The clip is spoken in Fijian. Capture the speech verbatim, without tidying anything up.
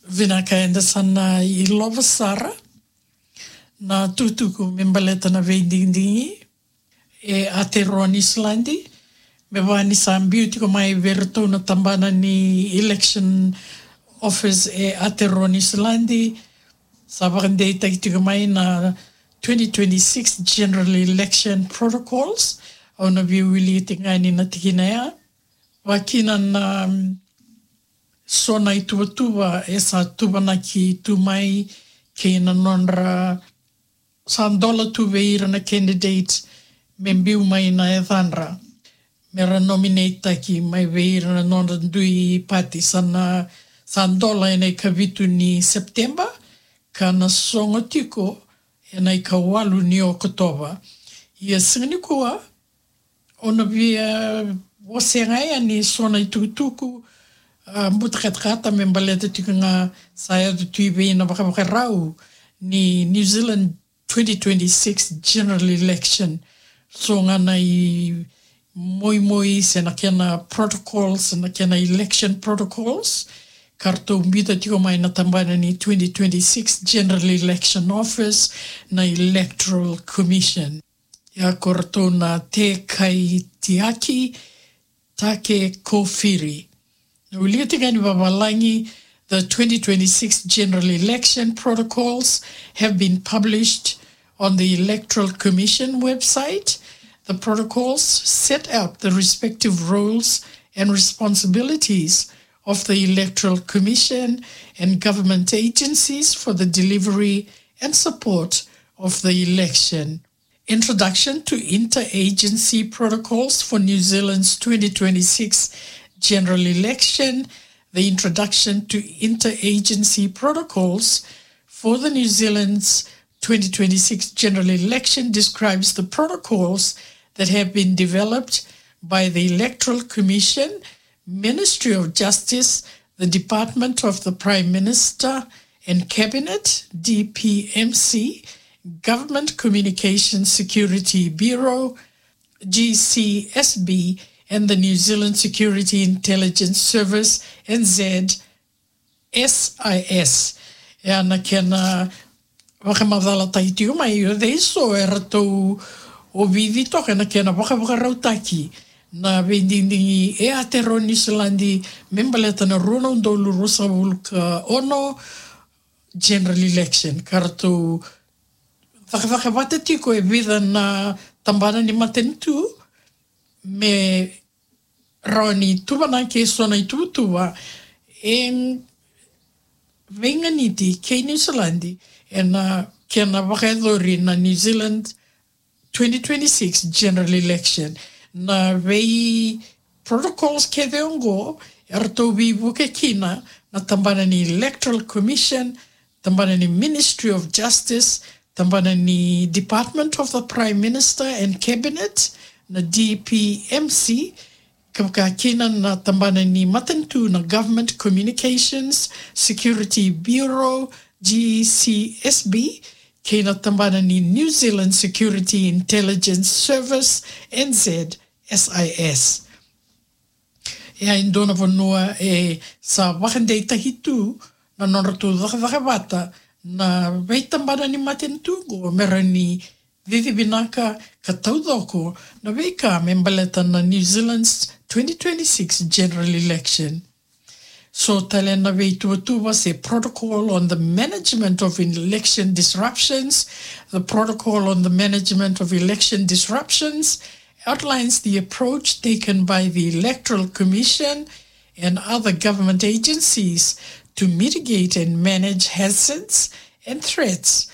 Vinaka, eda sa na ilova sara na tukutuku me baleta na veidigidigi e Aotearoa Niusiladi. Me vaka ni sa biu tiko mai vei iratou na tabana ni election office e Aotearoa Niusiladi, sa vakadeitaki tiko mai na twenty twenty-six general election protocols. Au na via wilika tiko ga yani na tikina ya. Vakakina na, mm, so na ituvatuva e sa tuvanaki tu mai kei na nodra, sa dola tu vei ira na candidate me biu mai na yacadra me ra nominate-taki mai vei ira na nodra dui party. Sa na, sa dola ena ikavitu ni September ka na sogo tiko ena ikawalu ni Okotova. Ia siga nikua, au na via wasea ga yani so na itukutuku, a, buta katakata me baleta tiko ga sa yaco tu i vei na vakavakarau ni New Zealand twenty twenty-six general election. So ga na imoimoi se na kena protocols, na kena election protocols ka ratou biuta tiko mai na tabana ni twenty twenty-six general election office, na Electoral Commission. Ia ko ratou na Te Kaitiaki Take Kofiri. Na wilika tiko yani vavalagi: The twenty twenty-six general election protocols have been published on the Electoral Commission website. The protocols set out the respective roles and responsibilities of the Electoral Commission and government agencies for the delivery and support of the election. Introduction to Interagency Protocols for New Zealand's twenty twenty-six General Election. The Introduction to Interagency Protocols for the New Zealand's twenty twenty-six General Election describes the protocols that have been developed by the Electoral Commission, Ministry of Justice, the Department of the Prime Minister and Cabinet, D P M C, Government Communications Security Bureau, G C S B, and the New Zealand Security Intelligence Service, N Z S I S. E a na kena vakamacalataki tiko mai, o cei so e ratou ovici toka ena kena vakavakarautaki na veidigidigi e Aotearoa Niusiladi me baleta na rua na udolu ruasagavulu ka ono general election, ka ratou cakacaka vata tiko e vica na tabana ni matanitu me rawa ni tuvanaki e so na ituvatuva e veiganiti kei Niusiladi ena kena vakayacori na New Zealand twenty twenty-six general election. Na vei protocols kece oqo e ratou veivuke kina na tabana ni Electoral Commission, tabana ni Ministry of Justice, tabana ni Department of the Prime Minister and Cabinet, na D P M C, ka vaka kina na tabana ni matanitu na Government Communications Security Bureau, G C S B, kei na tabana ni New Zealand Security Intelligence Service, N Z S I S. E a e dua na vanua e sa vakadeitaki tu na nodratou cakacaka vata na veitabana ni matanitu oqo me rawa ni cici vinaka ka taucoko na veika me baleta na New Zealand's twenty twenty-six general election. So tale na veituvatuva se protocol on the management of election disruptions. The protocol on the management of election disruptions outlines the approach taken by the Electoral Commission and other government agencies to mitigate and manage hazards and threats